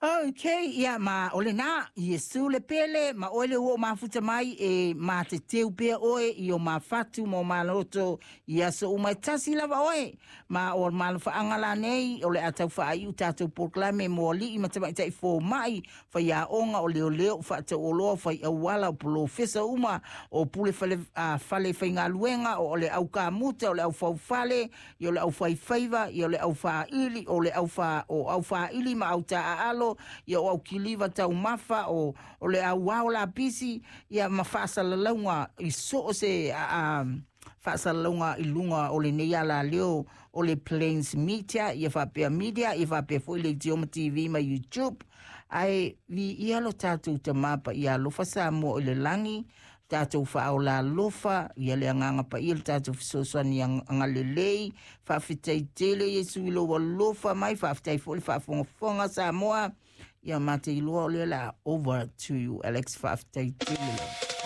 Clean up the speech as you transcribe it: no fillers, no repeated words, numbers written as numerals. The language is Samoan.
Okay, ia ma o lena, Iesu le pele, ma oe le ua o mafuta mai e mateteu pea oe i o mafatu ma o maloto i aso uma e tasi lava oe. Ma o malofaaga lanei o le a taufaaiu tatou polokalame mo alii ma tamaitai fomai, faiaoga, o leoleo, o faatauoloa, faiauala, o polofesa uma, o pule fale, fale faigaluega, o le aukamuta, o le aufaufale, ia o le aufaifaiva, ia o le aufaaili, o le aufa, o aufaaili ma autaaalo, ia o aukiliva taumafa, o le auao lapisi, ia ma faasalalauga i so o se faasalalauga i luga o lenei alaleo o le Plains Media, ia faapea media, ia faapea foi le Idioma TV ma YouTube. Ae viia lo tatou Tamā Paia alofa Samoa i le lagi, tatou faaola alofa, ia le Agaga Paia le tatou fesoasoani agalelei. Faafetai tele Iesu i lou alofa mai, faafetai foi le faafogafoga Samoa. Ia ma te iloa o lea la over to you, Alex. Faafetai tele lava.